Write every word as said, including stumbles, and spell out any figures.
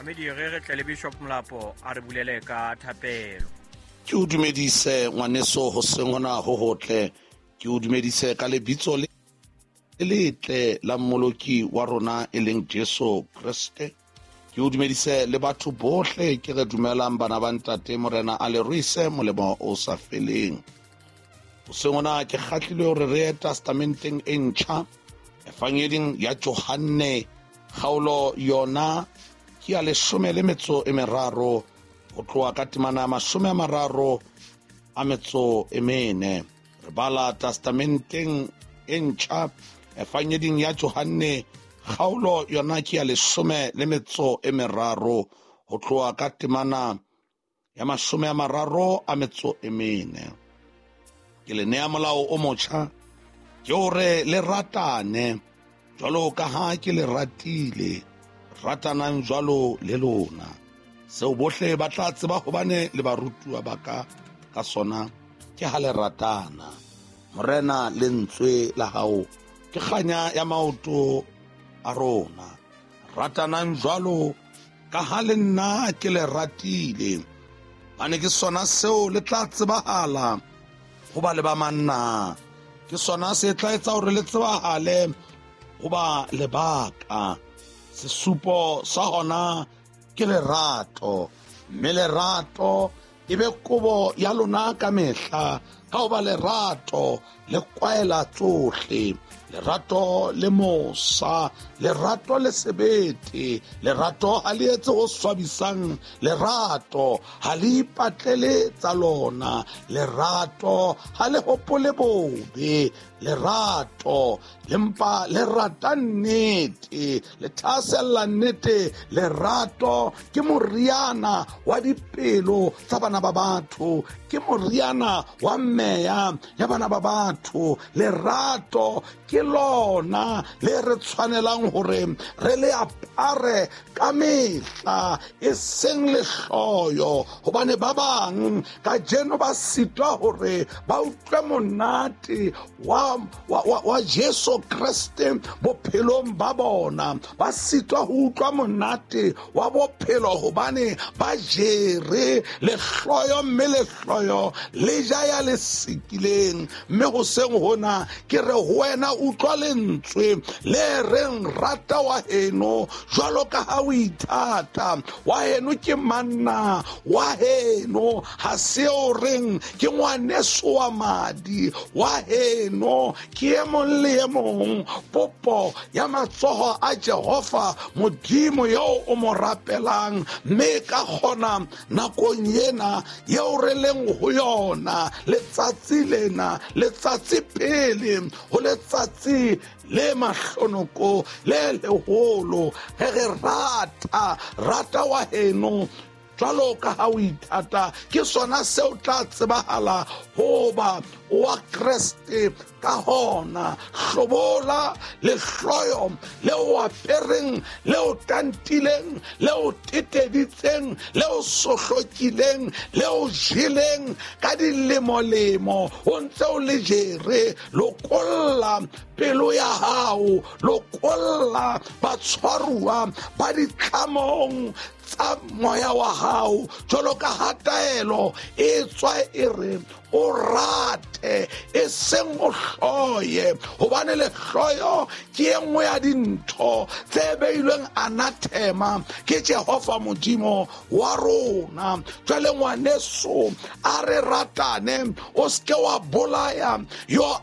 Momamedi, re re tle le Bishop Molapo a re bulele ka thapelo. Ke o dumedise ngwaneso hoseng hona ho hotle. Ke o dumedise ka lebitso le letle la Mmoloki wa rona e leng Jesu Kreste. Ke o dumedise le batho bohle ke re dumelang bana ba ntate Morena a le ruise molemo o sa feleng. Hoseng hona ke kgahlilwe hore re ye testamenteng e ntjha, Evangeding ya Johanne, kgaolo yona ke ya leshome le metso e meraro, ho tloha ka temana ya mashome a mararo a metso e mene. Re bala testamenteng e ntjha, Evangeding ya Johanne, kgaolo yona ke ya leshome le metso e meraro, ho tloha ka temana ya mashome a mararo a metso e mene. Ke le nea molao o motjha, ke hore le ratane jwalo ka ha ke le ratile, ratanang jwalo le lona. Seo bohle ba tla tseba hobane le barutuwa ba ka ka sona ke ha le ratana. Morena, lentswe la hao ke kganya ya maoto a rona. Ratanang jwalo ka ha le nna ke le ratile, hobane ke sona seo le tla tsebahala ho ba le ba manna. Ke sona se tla etsa hore le tsebahale ho ba le baka. Sesupo sa hona ke lerato, mme lerato e be kobo ya lona ka mehla, ka hoba lerato le kwaela tsohle. Lerato le mosa, lerato le sebete, lerato ha le etse ho swabisang, lerato ha le ipatlele tsa lona, lerato ha le hopole bobe, lerato le mpa le rata nnete, le thahasella nnete. Lerato ke moriana wa dipelo tsa bana ba batho, ke moriana wa meya ya bana ba batho. Lerato ke lona le re tshwanelang hore re le apare ka mehla, e seng lehloyo, hobane ba bang kajeno ba sitwa hore ba utlwe monate wa, wa, wa, wa Jesu Kreste bophelong ba bona. Ba sitwa ho utlwa monate wa bophelo hobane ba jere lehloyo, mme lehloyo le ja ya le sikileng. Mme hoseng hona ke re ho wena, utlwa lentswe le reng rata wa heno jwalo ka ha o ithata. Wa heno ke manna, wa heno ha se o reng ke ngwaneso wa madi, wa heno ke e mong le e mong popo ya matsoho a Jehova Modimo eo o mo rapelang. Mme ka kgona nakong ena eo re leng ho yona, letsatsi lena, letsatsi pele ho letsatsi le mahlonoko le leholo, ge re rata, rata wa heno jwalo ka ha o ithata, ke sona seo tla tsebahala hoba wa Kreste. Ka hona hlobola lehloyo le o apereng, le o tantileng, le o teteditseng, le o sohlokileng, le o jeleng ka dilemolemo, o ntse o le jere. Lokolla pelo ya hao, lokolla batshwaruwa ba ditlamong tsa moya wa hao, jwalo ka ha taelo e tswa e re o rate e seng o hloye, hobane lehloyo ke e nngwe ya dintho tse beilweng anathema ke Jehova Modimo wa rona. Jwale ngwaneso, a re ratane, o seke wa bolaya your